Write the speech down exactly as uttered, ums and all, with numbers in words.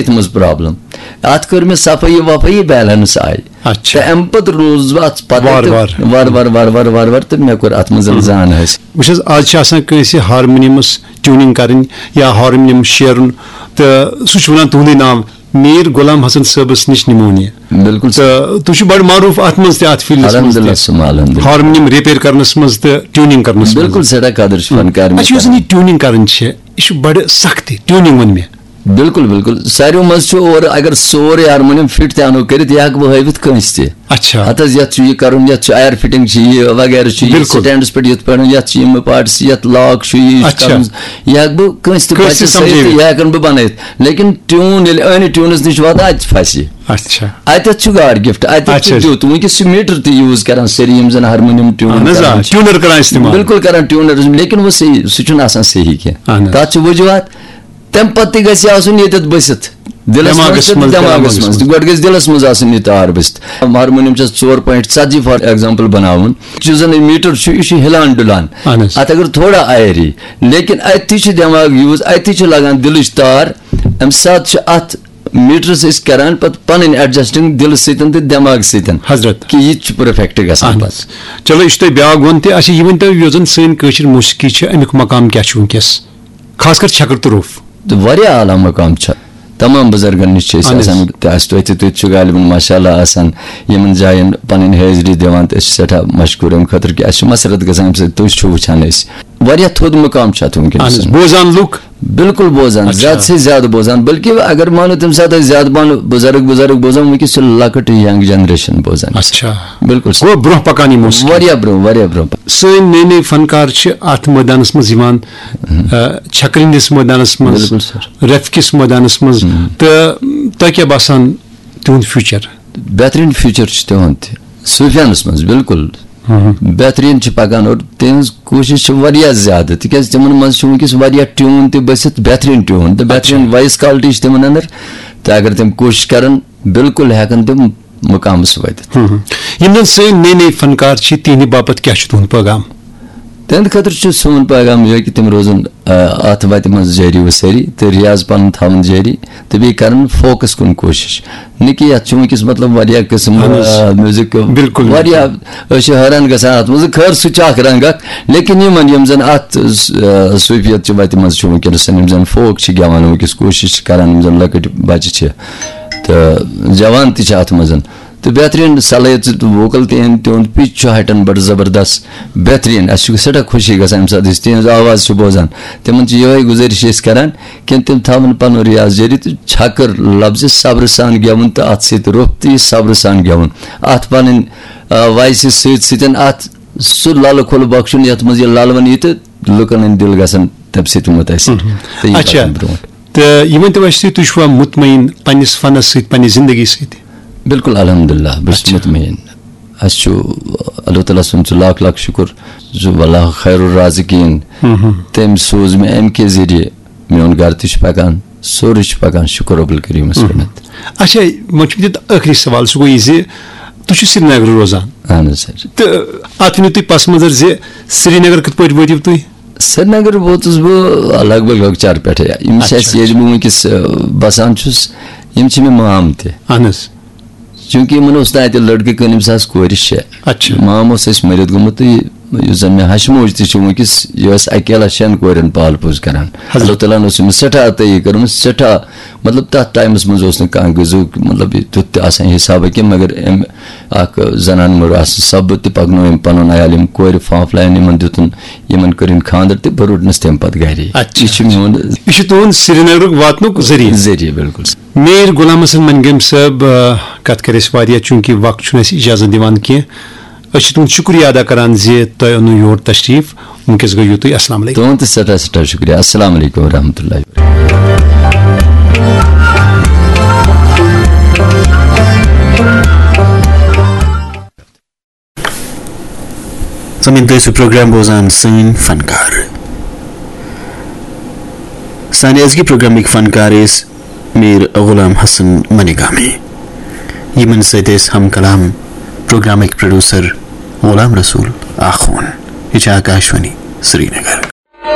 یَتھ منٛز پرابلم۔ اَتھ کٔر مےٚ صفٲیی وفٲیی، بیلنس آیہِ۔ اچھا۔ تہٕ اَمہِ پتہٕ روٗز بہٕ اَتھ پتہٕ وارٕ تہٕ وارٕ۔ وارٕ وارٕ وارٕ وارٕ وارٕ وارٕ تہٕ مےٚ کوٚر اَتھ منٛز زان حٲصِل۔ وٕچھ حظ، آز چھِ آسان کٲنٛسہِ ہارمونیمس ٹیوٗنِنٛگ کرٕنۍ یا ہارمونیم شیرُن، تہٕ سُہ چھُ وَنان تُہُنٛدُے ناو، میٖر غلام حسن صٲبس نِش نِمون یہِ۔ بِلکُل سر۔ تہٕ تُہۍ چھِو بڑٕ معروٗف اَتھ منٛز تہِ، اَتھ فیٖلڈس منٛز الحمدللہ تہِ، ثم الحمدللہ۔ ہارمونیم ریپیر کرنس منٛز تہٕ ٹیوٗنِنٛگ کرنس منٛز۔ بِلکُل سٮ۪ٹھاہ قدر چھِ فنکار مےٚ اَسہِ یُس زَن کران۔ یہِ ٹیوٗنِنٛگ کرٕنۍ چھِ، یہِ چھُ بڑٕ سخ تہِ ٹیوٗنِنٛگ ووٚن مےٚ۔ بِلکُل بِلکُل، ساروٕے منٛز چھُ اورٕ اگر سورُے ہارمونیم فِٹ تہِ اَنو کٔرِتھ، یہِ ہٮ۪کہٕ بہٕ ہٲوِتھ کٲنٛسہِ تہِ۔ اچھا۔ ہتہٕ حظ، یتھ چھُ یہِ کرُن، یتھ چھُ ایر فٹنگ چھِ یہِ وغیرہ چھُ یہِ، بِلکُل۔ سٹینڈس پٮ۪ٹھ یِتھ پٲٹھۍ، یتھ چھِ یِم پارٹس، یتھ لاک چھُ یہِ، یہِ چھُ اچھا۔ کرُن۔ یہِ ہٮ۪کہٕ بہٕ کٲنٛسہِ تہِ کٲنٛسہِ بچس سمجھٲوِتھ۔ سۭتۍ، یہِ ہٮ۪کن بہٕ بنٲیِتھ۔ لیکن ٹیوٗن ییٚلہِ أنۍ ٹیوٗنس نِش واتان، اتہِ چھِ پھسہِ۔ اچھا۔ اتٮ۪تھ چھُ گاڈ گفٹ، اتٮ۪تھ اچھا، چھُ اچھا۔ دیُت۔ وٕنکیٚس چھُ میٖٹر تہِ یوٗز کران سٲری، یِم زن ہارمونیم ٹیوٗن اہن حظ، آ، کران چھِ۔ ٹیوٗنر کران استعمال۔ بِلکُل کران ٹیوٗنر، لیکن وۄنۍ صحیح، سُہ چھُنہٕ آسان صحیح کینٛہہ۔ اہن حظ۔ تتھ چھِ وجوہات۔ تمہِ پتہٕ تہِ گژھِ آسُن ییٚتٮ۪تھ بٔسِتھ۔ دِلس دٮ۪ماغس منٛز تہٕ منٛز، دٮ۪ماغس دٮ۪ماغس منٛز منٛز۔ تہٕ گۄڈٕ گژھِ دِلس منٛز آسٕنۍ یہِ تار بٔسِتھ۔ ہارمونیم چھس ژور پوینٹ ژتجی فار ایگزامپل بناوُن، یُس زن یہِ میٖٹر چھُ، یہِ چھُ ہلان ڈُلان۔ اہن حظ۔ اتھ اگر تھوڑا آیری، لیکن اتہِ تہِ چھُ دٮ۪ماغ یوٗز، اتہِ تہِ چھِ لگان دِلٕچ تار۔ امہِ ساتہٕ چھِ اتھ میٖٹرس أسۍ کران پتہٕ پنٕنۍ ایڈجسٹنگ دِلہٕ سۭتۍ تہٕ دٮ۪ماغ سۭتۍ۔ حضرت۔ کہِ یہِ تہِ چھُ پرفیکٹ گژھان اہن پتہٕ۔ حظ۔ چلو، یہِ چھُ تۄہہِ بیٛاکھ ووٚن تہِ۔ اچھا، یہِ ؤنۍ تو، یۄس زن سٲنۍ کٲشِر موسیقی چھِ، امیُک مقام کیٛاہ چھُ وٕنکیٚس؟ خاص کر چھکر تہٕ روٚف۔ تہٕ واریاہ اعلیٰ مقام چھُ تمام بُزرگن نِش چھِ أسۍ اہن حظ۔ آسان، تہٕ اَسہِ تۄہہِ تہِ، تُہۍ تہِ چھِو غالباً ماشاء اللہ آسان یِمن جاین پنٕنۍ حٲضری دِوان، تہٕ أسۍ چھِ سٮ۪ٹھاہ مشکوٗر اَمہِ خٲطرٕ کہِ اَسہِ چھِ مسرت گژھان اَمہِ سۭتۍ، تُہۍ چھِو وٕچھان أسۍ۔ واریاہ تھوٚد مقام چھُ اَتھ وٕنکیٚنَس۔ اہن حظ، بوزان لُکھ۔ بِلکُل بوزان، اچھا۔ زیادٕ سے زیادٕ بوزان، بلکہِ اگر مانو تَمہِ ساتہٕ ٲسۍ زیادٕ پَہَن بُزرگ بُزرگ بوزان، وٕنکیٚس چھِ لۄکٕٹ ینگ جنریشن بوزان۔ اچھا۔ بِلکُل سر۔ گوٚو برونٛہہ پکان یہِ موسیقی۔ واریاہ برونٛہہ، واریاہ برونٛہہ۔ سٲنۍ نٔے نٔے فنکار چھِ اتھ مٲدانس منٛز یِوان، آ، چھکرِ ہٕنٛدِس مٲدانس منٛز، بِلکُل سر۔ رفہِ کِس مٲدانس منٛز، تہٕ تۄہہِ کیٛاہ باسان تِہُنٛد فیوٗچر؟ بہتریٖن فیوٗچر چھُ تِہُنٛد تہِ صوٗفیانس منٛز، بِلکُل۔ بہتریٖن چھِ پکان اور تِہنٛز کوٗشش چھِ واریاہ زیادٕ، تِکیازِ تِمن منٛز چھُ وٕنکیٚس واریاہ ٹیوٗن تہِ بٔسِتھ، بہتریٖن ٹیوٗن تہٕ بہتریٖن وایس کوالٹی چھِ تِمن اندر۔ تہٕ اگر تِم کوٗشش کرن، بِلکُل ہٮ۪کن تِم مُقامس وٲتِتھ۔ یِم زن سٲنۍ نٔے نٔے فنکار چھِ، تِہنٛدِ باپتھ کیٛاہ چھُ تُہُنٛد پیغام؟ تِہنٛدِ خٲطرٕ چھُ سون پیغام یِہوٚے کہِ تِم روزن، آ، اتھ وتہِ منٛز جٲری و سٲری تہٕ ریاض پنُن تھاوُن جٲری تہٕ بیٚیہِ کرن فوکس کُن کوٗشش۔ نہٕ کہِ یتھ چھُ وٕنکیٚس مطلب واریاہ قٕسم، اہن حظ۔ آ، میوٗزک بِلکُل، واریاہ، أسۍ چھِ حٲران گژھان اتھ منٛز، خٲر سُہ چھُ اکھ رنگ اکھ، لیکن یِمن یِم زن اتھ، آ، صوٗفیت چہِ وتہِ منٛز چھِ وٕنکیٚنس، یِم زن فوک چھِ گٮ۪وان وٕنکیٚس، کوٗشش چھِ کران، یِم زن لۄکٕٹۍ بچہِ چھِ تہٕ جوان تہِ چھِ اتھ منٛز۔ تہٕ بہتریٖن صلٲحیت چھِ ووکل تِہِنٛد، تِہُنٛد پِچ چھُ ہٹان بڑٕ زبردست، بہتریٖن۔ اَسہِ چھُ سٮ۪ٹھاہ خوشی گژھان ییٚمہِ ساتہٕ أسۍ تِہِنٛز آواز چھِ بوزان۔ تِمن چھِ یِہوٚے گُزٲرِش أسۍ کران کہِ تِم تھاوَن پنُن ریاض جٲری تہٕ چھکٕر لفظِ صبرٕ سان گٮ۪وُن تہٕ اَتھ سۭتۍ روٚف تہِ صبرٕ سان گٮ۪وُن۔ اَتھ پنٕنۍ، آ، وایسہِ سۭتۍ سۭتۍ اَتھ سُہ لَلہٕ کھوٚل بخشُن یَتھ منٛز یہِ لَلوَن یی تہٕ لُکن ہٕنٛدۍ دِل گژھن تَمہِ سۭتۍ مُتٲثر۔ تہٕ یِم اچھا۔ پَکن برونٛٹھ۔ تہٕ یہِ ؤنۍ تو اَسہِ تُہۍ، تُہۍ چھِوا مطمعین پننِس فنس سۭتۍ، پننہِ زندگی سۭتۍ؟ بِلکُل، الحمدللہ، بہٕ چھُس اچھا۔ مطمئن۔ اَسہِ چھُ اللہ تعالیٰ سُنٛد چھُ لاکھ لاکھ شُکُر زِ واللہ خیر الرازقین۔ تٔمۍ سوٗز مےٚ اَمہِ کہِ ذٔریعہٕ، میون گرٕ تہِ چھُ پکان، سورُے چھُ پکان، شُکُر رب الکریٖمَس پٮ۪ٹھ۔ اچھا، وۄنۍ چھُ مےٚ ٲخری سوال، سُہ گوٚو یہِ زِ تُہۍ چھِو سرینگرٕ روزان، اہن حظ سر۔ تہٕ اتھ ؤنِو تُہۍ پس منظر زِ سرینگر کِتھ پٲٹھۍ وٲتِو تُہۍ؟ سرینگر ووتُس بہٕ لگ بگ لۄکچار پٮ۪ٹھے۔ یِم چھِ اَسہِ، اچھا۔ ییٚتہِ بہٕ وٕنکیٚس، آ، بسان چھُس، یِم چھِ مےٚ مام تہِ۔ اہن حظ۔ چوٗنٛکہِ یِمن اوس نہٕ اَتہِ لٔڑکہٕ کٕہٕنۍ، ییٚمِس آسہٕ کورِ شےٚ۔ اچھا۔ مام اوس اَسہِ مٔرِتھ گوٚمُت، تہٕ یہِ، یُس زَن مےٚ ہَشہِ موج تہِ چھِ وٕنکیٚس، یہِ ٲس اَکیلا شٮ۪ن کورٮ۪ن پال پوٗس کران۔ حضرت۔ اللہ تعالیٰ ہَن اوس أمِس سٮ۪ٹھاہ عطٲیی کٔرمٕژ، سٮ۪ٹھاہ، مطلب، تَتھ ٹایمَس منٛز اوس نہٕ کانٛہہ غذہُک، مطلب، یہِ تیُتھ تہِ آسان حِسابہ کینٛہہ، مگر أمۍ اکھ زنان مٔر آسنہٕ سببہٕ تہِ پَکنو أمۍ پَنُن عیال، یِم کورِ فانفلایَن یِمن دیُتُن، یِمن کٔرِن خانٛدر تہٕ بہٕ روٚٹنَس تَمہِ پَتہٕ گرے۔ اچھا۔ یہِ چھُ میون یہِ چھُ تُہُنٛد سرینگرُک واتنُک ذٔریعہٕ۔ ذٔریعہٕ، بِلکُل۔ میٖر غلام حسن منگم صٲب، آ، کتھ کرِ اَسہِ واریاہ، چوٗنٛکہِ وقت چھُنہٕ اَسہِ اجازت دِوان کینٛہہ۔ أسۍ چھِ تُہُنٛد شُکریہ ادا کران زِ تۄہہِ اوٚنوٕ یور تشریف۔ وٕنکیٚس گٔیِو تُہۍ۔ السلام علیکم۔ تُہُنٛد تہِ سٮ۪ٹھاہ سٮ۪ٹھاہ شُکریہ۔ السلام علیکم ورحمۃ اللہ۔ سامعین، تُہۍ ٲسِو پروگرام بوزان سٲنۍ فنکار۔ سانہِ أزکہِ پروگرامٕکۍ فنکار ٲسۍ میٖر غلام حسن منگامی۔ یِمن سۭتۍ ٲسۍ ہم کلام پروگرامٕکۍ پروڈیوسر غلام رسول آخون۔ یہِ چھِ آکاشوانی سرینگر۔